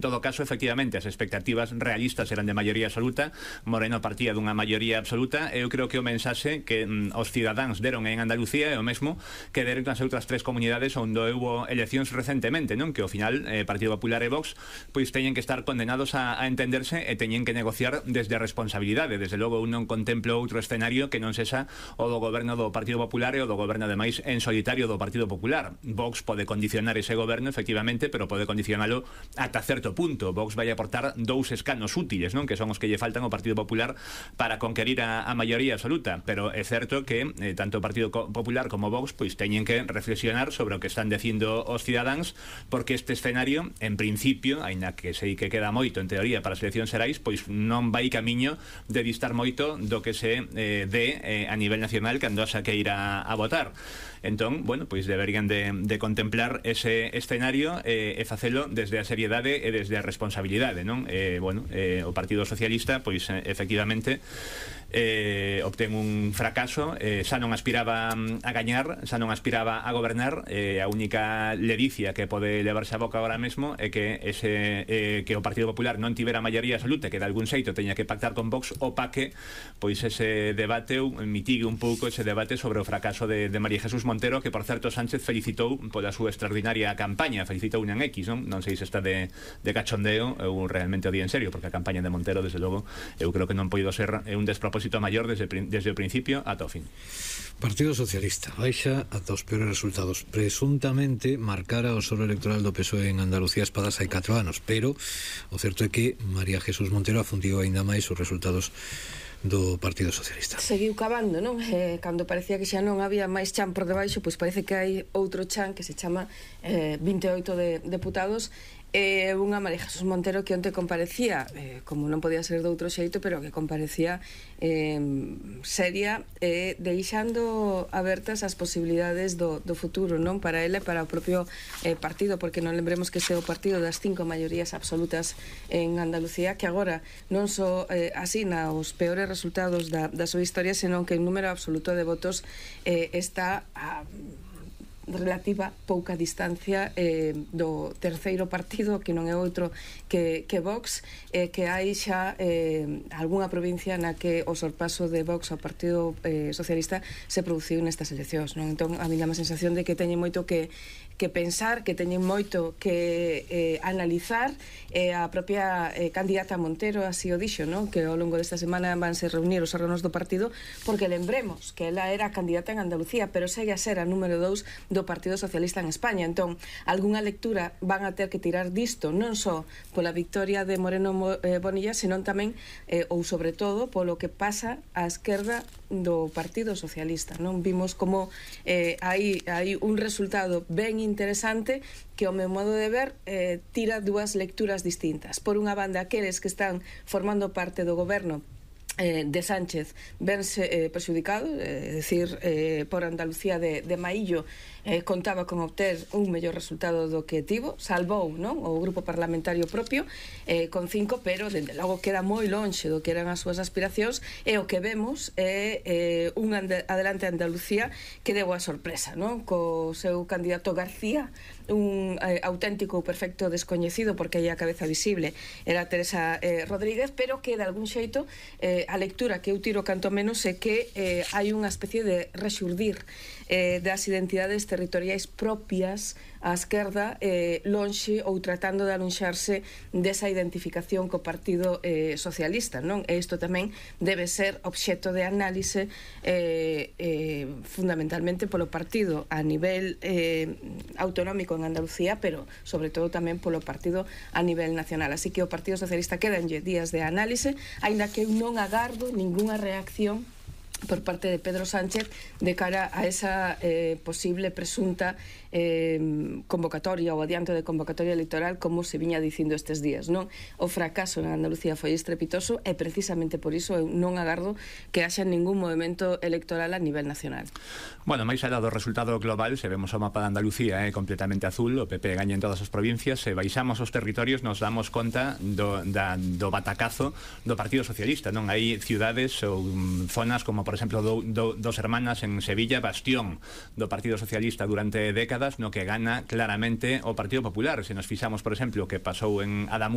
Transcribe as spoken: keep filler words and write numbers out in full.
En todo caso, efectivamente, as expectativas realistas eran de maioría absoluta, Moreno partía dunha maioría absoluta, e eu creo que o mensaxe que mm, os cidadáns deron en Andalucía é o mesmo que deron nas outras tres comunidades onde houve eleccións recentemente, non? Que ao final eh, Partido Popular e Vox pois teñen que estar condenados a, a entenderse e teñen que negociar desde a responsabilidade. Desde logo, eu non contemplo outro escenario que non sexa o do goberno do Partido Popular e o do goberno, ademais, en solitario do Partido Popular. Vox pode condicionar ese goberno, efectivamente, pero pode condicionalo ata certo punto. Vox vai aportar dous escanos útiles, non? Que son os que lle faltan ao Partido Popular para conquerir a, a maioría absoluta, pero é certo que eh, tanto o Partido Popular como Vox pois teñen que reflexionar sobre o que están dicindo os cidadáns, porque este escenario, en principio, aínda que sei que queda moito en teoría para as eleccións xerais, pois non vai camiño de distar moito do que se eh, dé eh, a nivel nacional cando haxa que ir a, a votar. Entón, bueno, pois deberían de, de contemplar ese escenario eh, e facelo desde a seriedade e desde a responsabilidade, non? Eh, bueno, eh, o Partido Socialista, pois, eh, efectivamente, eh, obtén un fracaso, eh, xa non aspiraba a gañar, xa non aspiraba a gobernar, eh, a única ledicia que pode levarse a boca agora mesmo é que ese eh, que o Partido Popular non tivera maioría absoluta, que de algún xeito teña que pactar con Vox, opaque pois ese debate, ou mitigue un pouco ese debate sobre o fracaso de, de María Jesús Montero, que por certo Sánchez felicitou pola súa extraordinaria campaña, felicitou un X, non? Non sei se está de, de cachondeo ou realmente o di en serio, porque a campaña de Montero, desde logo, eu creo que non poido ser un despropósito maior desde, desde o principio ata o fin. Partido Socialista baixa ata os peores resultados. Presuntamente marcara o solo electoral do P S O E en Andalucía espadas hai catro anos, pero o certo é que María Jesús Montero afundiu aínda máis os resultados do Partido Socialista. Seguiu cavando, non? Eh, cando parecía que xa non había máis chan por debaixo, pois parece que hai outro chan que se chama eh, vinte e oito de deputados, e unha María Jesús Montero que onte comparecía, eh, como non podía ser de outro xeito, pero que comparecía eh, seria, eh, deixando abertas as posibilidades do, do futuro, non? Para ela e para o propio eh, partido, porque non lembremos que este é o partido das cinco maiorías absolutas en Andalucía, que agora non só eh, asina os peores resultados da, da súa historia, senón que en número absoluto de votos eh, está a relativa pouca distancia eh, do terceiro partido, que non é outro que, que Vox, eh, que hai xa eh, algunha provincia na que o sorpaso de Vox ao Partido eh, Socialista se produciu nestas eleccións, non? Entón, a mí dá a sensación de que teñen moito que que pensar, que teñen moito que eh, analizar, e eh, a propia eh, candidata Montero así o dixo, non? Que ao longo desta semana vanse reunir os órganos do partido, porque lembremos que ela era candidata en Andalucía, pero segue a ser a número dous do Partido Socialista en España. Entón, algunha lectura van a ter que tirar disto, non só pola victoria de Moreno eh, Bonilla, senón tamén, eh, ou sobre todo, polo que pasa á esquerda do Partido Socialista, non? Vimos como eh, hai, hai un resultado ben interesante que, ao meu modo de ver, eh, tira dúas lecturas distintas. Por unha banda, aqueles que están formando parte do goberno eh, de Sánchez vense eh, perxudicado, é eh, dicir, eh, por Andalucía de, de Maillo eh, contaba con obter un mellor resultado do que tivo, salvou, non? O grupo parlamentario propio eh, con cinco, pero dende logo queda moi lonxe do que eran as súas aspiracións, e o que vemos é eh, un adelante Andalucía que deu a sorpresa, non? Co seu candidato García, un eh, auténtico perfecto descoñecido, porque aí a cabeza visible era Teresa eh, Rodríguez, pero que de algún xeito eh, a lectura que eu tiro canto menos é que eh, hai unha especie de rexurdir eh, das identidades territoriais propias á esquerda, eh, lonxe ou tratando de alonxarse desa identificación co Partido eh, Socialista, non? E isto tamén debe ser obxecto de análise eh, eh, fundamentalmente polo partido a nivel eh, autonómico en Andalucía, pero sobre todo tamén polo partido a nivel nacional. Así que o Partido Socialista quedanlle días de análise, aínda que eu non agardo ningunha reacción por parte de Pedro Sánchez de cara a esa eh, posible presunta eh, convocatoria ou adianto de convocatoria electoral, como se viña dicindo estes días, non? O fracaso en Andalucía foi estrepitoso, e precisamente por iso eu non agardo que haxa ningún movimento electoral a nivel nacional. Bueno, máis alá do resultado global, se vemos o mapa de Andalucía é eh, completamente azul, o P P gaña en todas as provincias, se baixamos os territorios nos damos conta do, da, do batacazo do Partido Socialista, non? Hai ciudades ou um, zonas como, por exemplo, do, do, dos Hermanas en Sevilla, bastión do Partido Socialista durante décadas, no que gana claramente o Partido Popular. Se nos fixamos, por exemplo, que pasou en Adamu